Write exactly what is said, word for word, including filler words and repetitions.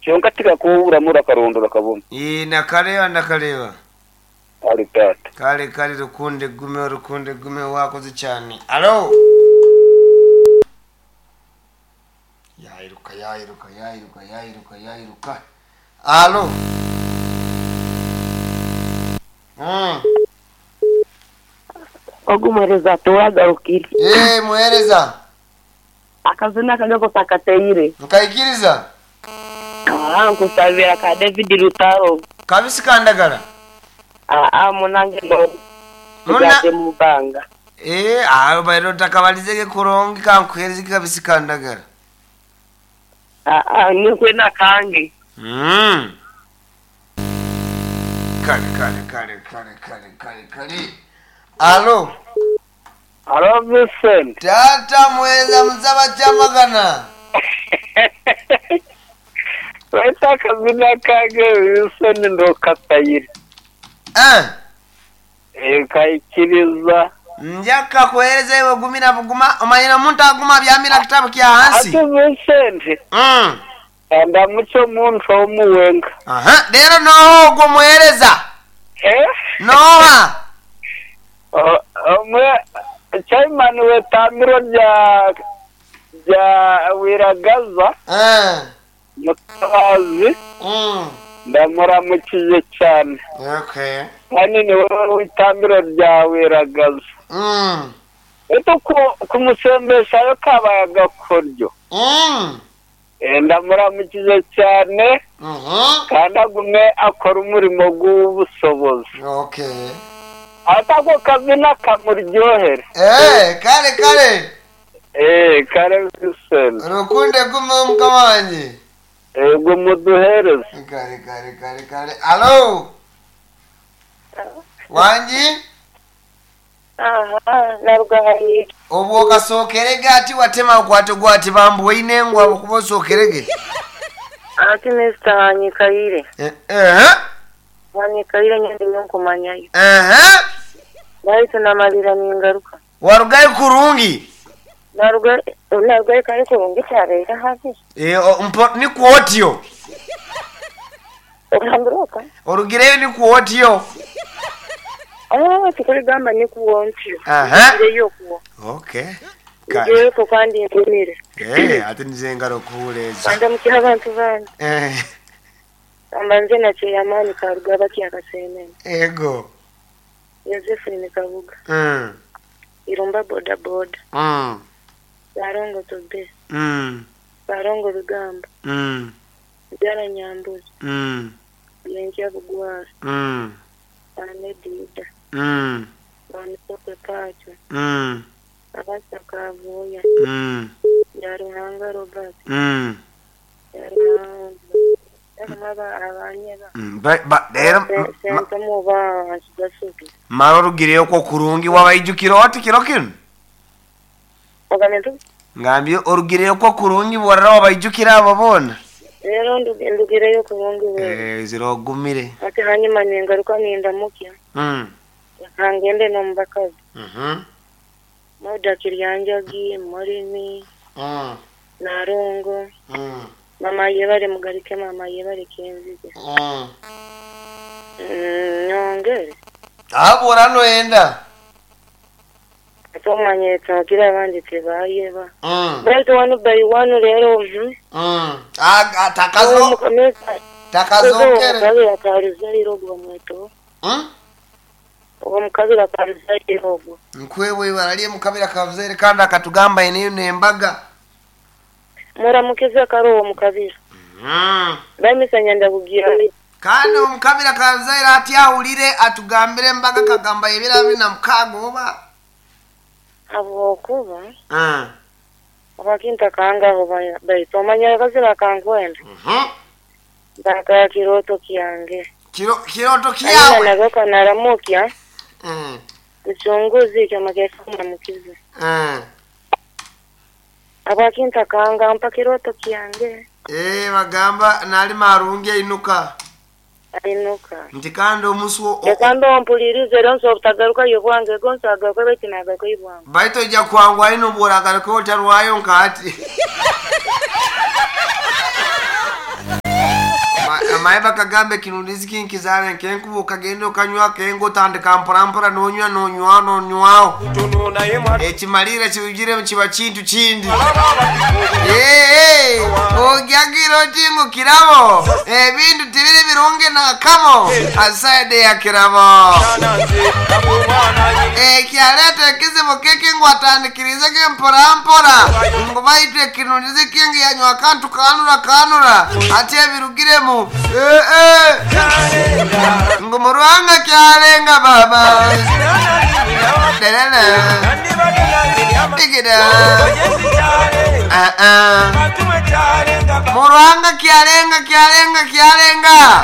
Kyonka tikakuburamu urakarondora kabona. Ii nakareba ndakareba. Kale tata. Kale kale rukunde gume rukunde gume wakoze cyane. Alo. Yayiruka yayiruka yayiruka yayiruka yayiruka. Alo. Mm. Ogumuhereza tuwagarukire. Eh muhereza. Akazina kagako kakateire. Nkaikiriza. Ah, nkusabira ka David Lutaro. Kabisi kandagala. Ah, ah munange no. Muna Muna mubanga. Eh aho bairo takabalizege kurongi kankuhereza kabisi kandagala. Ah, ah nikwe nakange. Mm. Kale kale kale kale kale kale kale. Alo. Alo Vincent. Tata mweza mzaba chamagana. Weta akazina kange Vincent ndo katayire. Eh. Eh kaikiriza. Njaka kuhereza iwe gumira buguma omanyira omuntu aguma byamira kitabu kya hansi. Ate Vincent. Mm. Ndamuco muntu omuwenga. Aha, rero noho ogwo muhereza. Eh? Noha. Omwe chairman wetambiro rya rya Wiragaza Eh. Mutabazi Mm. ndamuramukije cyane. Okay. Kandi ni wowe witambiro rya Wiragaza. Mm. Eto kumusembeshayo kabaye agakoryo. Mm. Eh, ndamuramukije cyane Mhm. kandi agume akora umurimo w'ubusobozi. Okay. Atako kazina kamuryohere. Eh, kale kale. Eh, kare Vincent. Rukunde gume mukama wanje. Ego muduhereze. Kale kale kale kale. Alo. Wanji? Aha, narugahaye. Obwo kasookerege ati watema okwate gwati bambuwaine ngu abukuba osookerege. Ati Mister Hanyikaire. Eh eh. Hanyikaire nyende nyokumanyayo. Eh. Baitu namalira ningaruka. Warugayo kurungi. Naruga narugayo kare kurungi cyabeera habi. Eh mpo ni kuotio. Ogambiroka. Orugireyo ni kuotio. Ah, tukuligamba ni kuwontyo. Aha. Ngireyo kuwo. Okay. Kale. Ngireyo ko kandi nkumire. Eh, ati nize ngaro kuwuleza. Kanda mukiha abantu bange. Eh, Ambanze na cheyamani karugaba kyakasemene. ego. Josephine Kabuga. Mm. Irumba boda boda. Mm. Barongo tobe. Mm. Barongo bigamba. Mm. Byara nyambuzi. Mm. Yenja bugwara. Mm. Anedida. Mm. Banisoke pacho. Mm. Abasa kavuya. Mm. Yaruhanga Robert. Mm. Yaruhanga. Yaruhanga abanyeba. Mm. Ba, ba, rero ma- Sentamu ba gasubi. mara orugireyo kwo kurungi wabaijukira oti kiro kinu Ogamento ngambye orugireyo kwo kurungi borara wabaijukira abo bona rero ndu- ndugireyo kurungi wewe. eh zirogumire Ati hanyuma ningaruka nindamukya. mm Kangende nomubakazi. mhm Moda Kiryanjagi, Morimi, mm Narongo, mm mama yebare mugarike mama yebare kenzige. mm Mm, nyongere. abora noenda Tumanye twagira abandi tebayeba. mm Baitu wanu by wanu rero mhm. mm ah takazo Mukomeza takazokere Omukabira karuzairo gwa mweto. mm Omukabira karuzairo gwa. nkwewe ibara mukabira kavuzere kandi akatugamba eneyo nembaga Muramukiza karo omukabira. mm Bamisanya ndabugira. kandi omukabira kazaire ati ahulire atugambire embaga kagamba ebira bina mukaaga oba Habwokuba mm. abakinta kangaho baitu omanya akazira kankwenda. Mhm. Ndakaya kiroto kyange. kiro kiroto Aina kyawe nagoka naramukya. mm. Uchunguzi kyama kyafuna mukiza. mm. Abakinta kanga mpa kiroto kyange. Eh bagamba nali marungi ainuka Ainuka. nti kandi omusi o- o- Ekamba ompulirize era nsobola obutagaruka yo bwange gonso agaruka baitu nagaruka yo bwange. baitu ojja kwangwa ino bworagaruka otarwayo nkati. Omaye bakagamba ekinundizi kinkizaare nkenkuba okagenda okanywa kenga otandika mporampora nonywa nonywa nonywaho Tuno naye mwana ekimalira kibugiremu kiba kintu kindi. Ee, ogyagira oti ngu kirabo ebintu tibiri birungi nakamo asaide ya kirabo. Nze omwana nyina. Ekyaleeta ekizibu kiki ngu atandikirize ke mporampora ngu baitu ekinundizi kingi yanywa akantu kanura kanura ati ebirugiremu. Ee, ee. Ngu murwanga kyalenga baba Dalala. Digida. Ah, ah. Murwanga kyalenga kyalenga kyalenga.